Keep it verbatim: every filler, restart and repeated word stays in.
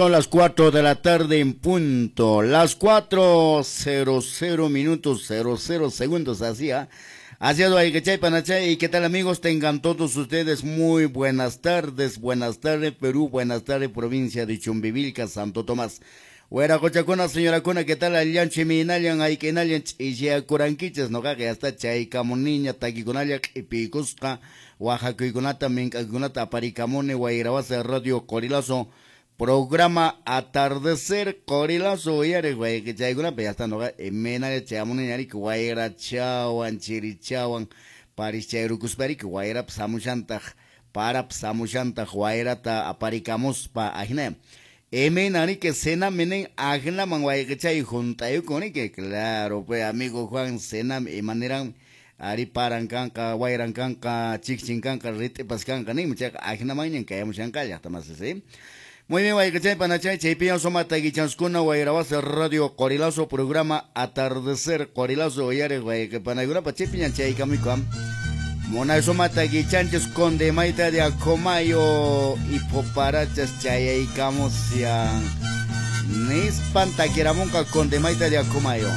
Son las cuatro de la tarde en punto, las cuatro cero cero minutos cero cero segundos, así, ¿ah? Así es, y qué tal amigos, tengan todos ustedes muy buenas tardes, buenas tardes Perú, buenas tardes provincia de Chumbivilca, Santo Tomás. Hueracochacuna, señora Cuna, ¿qué tal? Allanchi, minalan, ayquinallan, ch'ishiakurankichis, noqaqa hasta chaykamuniña, takikunalla, q'ipiykusqa, waqakuykunata, mink'akuykunata aparikamuni, Wayrawasi Radio Qorilazo, programa Atardecer Qorilazo, uyariq wayqichaykunapi, ya está noqa imaynalla chayamuniña riki, wayrachawan, chirichawan, parischayrukuspariki, wayrapas hamushantaq, parapas hamushantaq, wayrata aparikamuspa, ajina. Imayna riki, cenami nin, ajinaman wayqichay junt'ayukun riki, claro, pues amigo Juan, cenami imaniran, ari paran kanqa, wayran kanqa, chikchin kanqa, rit'ipas kanqa ninmi, chayqa ajinamanñan kayamushanqa llaqta ¿sí? Muy bien, wayqichay panachay, chaypiñan suma takichaskuna, Wayrawasi Radio Qorilazo, programa Atardecer Qorilazo, uyariq wayqipanaykunapa, chaypiñan chaykamuyku. Munay suma takichanchis Conde Maita de Acomayo y Poparachas chayaykamusyan. Nispan takiramunqa Conde Maita de Acomayo.